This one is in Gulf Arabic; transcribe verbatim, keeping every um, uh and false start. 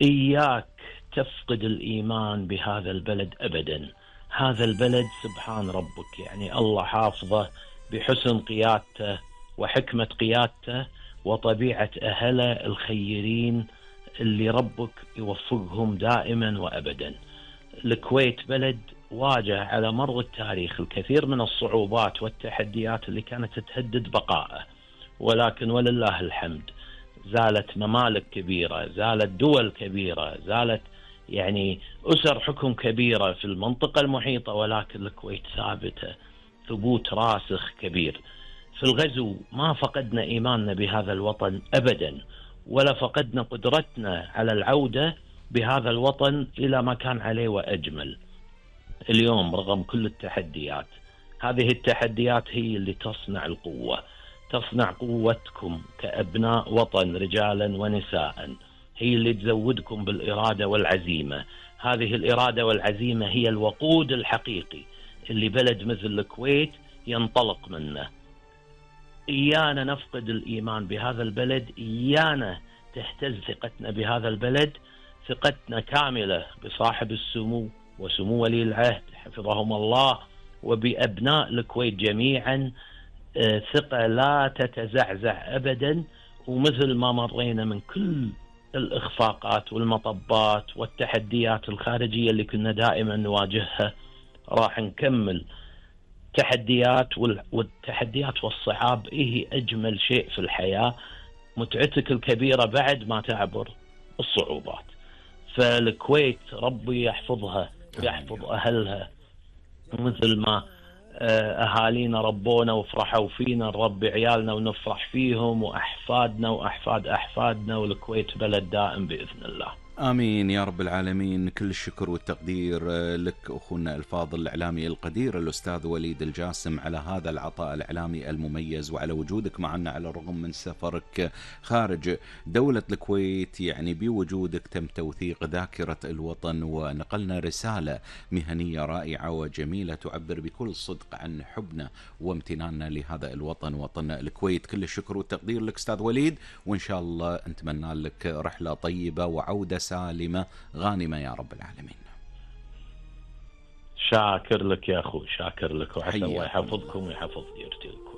إياك تفقد الإيمان بهذا البلد أبدا. هذا البلد سبحان ربك، يعني الله حافظه بحسن قيادته وحكمة قيادته وطبيعة أهله الخيرين اللي ربك يوفقهم دائما وأبدا. الكويت بلد واجه على مر التاريخ الكثير من الصعوبات والتحديات اللي كانت تهدد بقائه، ولكن ولله الحمد زالت ممالك كبيرة، زالت دول كبيرة، زالت يعني أسر حكم كبيرة في المنطقة المحيطة، ولكن الكويت ثابتة ثبوت راسخ كبير. في الغزو ما فقدنا إيماننا بهذا الوطن أبدا، ولا فقدنا قدرتنا على العودة بهذا الوطن إلى ما كان عليه وأجمل. اليوم رغم كل التحديات، هذه التحديات هي اللي تصنع القوة، تصنع قوتكم كأبناء وطن رجالا ونساء، هي اللي تزودكم بالإرادة والعزيمة. هذه الإرادة والعزيمة هي الوقود الحقيقي اللي بلد مثل الكويت ينطلق منه. إيانا نفقد الإيمان بهذا البلد، إيانا تهتز ثقتنا بهذا البلد. ثقتنا كاملة بصاحب السمو وسمو ولي العهد حفظهم الله، وبأبناء الكويت جميعا. ثقة لا تتزعزع أبدا، ومثل ما مرينا من كل الإخفاقات والمطبات والتحديات الخارجية اللي كنا دائما نواجهها، راح نكمل تحديات. والتحديات والصعاب إيه أجمل شيء في الحياة، متعتك الكبيرة بعد ما تعبر الصعوبات. فالكويت ربي يحفظها، يحفظ أهلها مثل ما أهالينا ربونا وفرحوا فينا، نربي عيالنا ونفرح فيهم، وأحفادنا وأحفاد أحفادنا، والكويت بلد دائم بإذن الله. آمين يا رب العالمين. كل الشكر والتقدير لك أخونا الفاضل الإعلامي القدير الأستاذ وليد الجاسم على هذا العطاء الإعلامي المميز، وعلى وجودك معنا على الرغم من سفرك خارج دولة الكويت. يعني بوجودك تم توثيق ذاكرة الوطن، ونقلنا رسالة مهنية رائعة وجميلة تعبر بكل صدق عن حبنا وامتناننا لهذا الوطن، وطن الكويت. كل الشكر والتقدير لك أستاذ وليد، وإن شاء الله نتمنى لك رحلة طيبة وعودة سالمة غانمة يا رب العالمين. شاكر لك يا أخو، شاكر لك، وعسى الله يحفظكم ويحفظ ديرتكم.